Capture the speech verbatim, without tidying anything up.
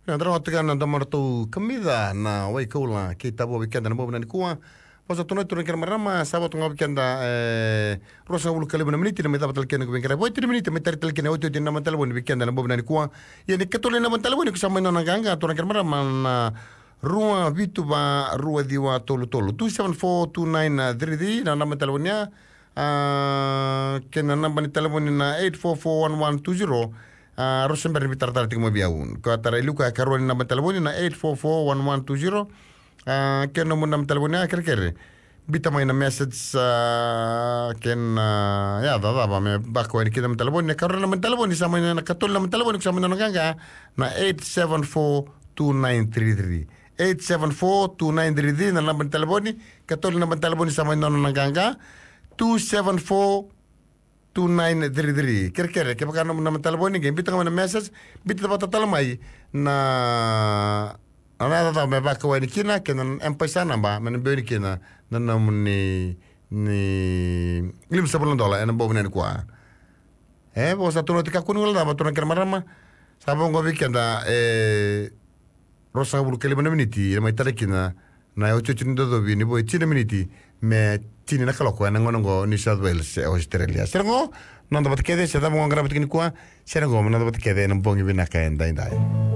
Na drau tiko na domo ratou kamica na wai kaula kei tavo vei keda na bobu na nikua. Vosa tu na turaga kei na marama, sa votu ga vei keda, e, ruasagavulu ka lima na miniti na mai cava tale kina ko vei keda. Vo iti na miniti mai tari tale kina otioti na naba ni talevoni vei keda na bobu na nikua. Ia ni katolu na naba ni talevoni ko sa mai nona qaqa, turaga kei na marama, na rua vitu va rua ciwa tolu tolu, two seven four two nine three three, na naba ni talevoni ya. A, kei na naba ni talevoni na eight four four one one two zero. A, rau se bera ni veitaratara tiko mai vei au. Ko a tara i liu ka karua ni naba ni talevoni na eight four four one one two zero. A, kei na nomu naba ni talevoni, a, kerekere, bita mai na message, a, kei na, a, ya, cacava me baka wai ni kina naba ni talevoni. Na karua ni naba ni talevoni sa mai na, na katolu ni naba ni talevoni ko sa mai nona qaqa, na eight seven four two nine three three. Eight seven four two nine three three na naba ni talevoni. Katolu ni naba ni talevoni sa mai nona na qaqa, two seven four two nine three three. Kerekere, kevaka nomu naba ni talevoni qai bita ga mai na message, bita vata tale mai na, na, na, na, me vaka wai ni kina kei na M-PAiSA naba me na biu ni kina na nomuni, ni lima savulu na dola ena bobu na nikua. E, vosa tu na oti kakua ni guilecava, turaga kei na marama. Sa vo qo vei keda, e, ruasagavulu ka lima na miniti na mai tara kina na otioti ni docovi ni vo e tini na miniti me tini na kaloko ena gauna qo New South Wales, e, Australia. Sere qo, noda vata kece, se cava qo qarava tiko nikua, sere qo me noda vata kece ena bogi vinaka edaidai.